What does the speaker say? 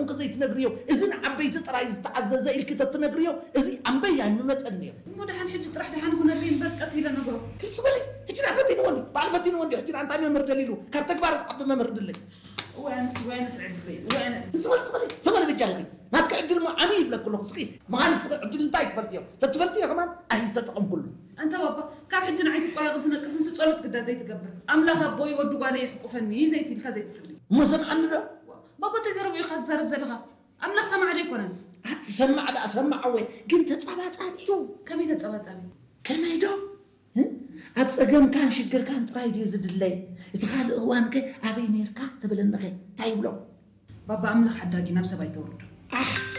እንክ ዘይትነግርዮ፣ እዚ ንዓበይቲ ጥራይ ዝተኣዘዘ ኢልኪ ተትነግርዮ፣ እዚ ኣንበይ ኣይምመጸን ነይሩ። እሞ ደሓን ሕጂ ጥራሕ ደሓን ይኹነለይ እምበር ቀስ ኢለ ነግሮ። ክስ በሊ፣ ሕጂ ደኣ ፈቲንዎ እንዲ፣ በዓል ፈቲንዎ እንዲ፣ ሕጂ ደኣ እንታይ መምህር ደሊሉ፣ ካብ ተግባር ዝዓቢ መምህር ድለይ። እዋይ ኣነስ፣ እዋይ ኣነ ትዕድለይ፣ እዋይ ኣነ። ክስ በሊ፣ ክስ በሊ፣ ክስ በሊ ብጃለኺ። ናትኪ ዕድል እሞ ዓብዪ ይብለኩ ኣለኹ። እስኺ መሃንድስኺ ዕድል እንታይ ትፈልጥዮ? ተትፈልጥዮ ከማን ኣይምተጠቐምኩሉ። ኣንታ ባባ፣ ካብ ሕጂ ንዓይ ትቆራቕን ትነቅፍንሲ ጸሎት ግዳ ዘይትገብር። ኣምላኽ ኣቦይ ወዲ ጓለይ ይሕቁፈኒ ዘይትልካ ዘይትጽሊ። እሞ ሰምዓኒ ዶ? ባባ እንታይ ዘረብኡ ኢኻ ትዛረብ ዘለኻ? ኣምላኽ ሰማዕ ዶ ኣይኮነን? ኣቲ ሰማዕ ደኣ ሰማዕ እወ፣ ግን ተጻባጻቢ እዩ። ከመይ ተጻባጻቢ? ከመይ ዶ? እ? ኣብ ጸገምካን ሽግርካን ጥራይ ድዩ ዝድለይ? እቲ ካልእ እዋንከ ኣበይ ነይርካ ትብለኒኸ? እንታይ ይብሎ? ባባ ኣምላኽ ሓዳጊ ናብ ሰብ ኣይተውርዶ። ኣሕ!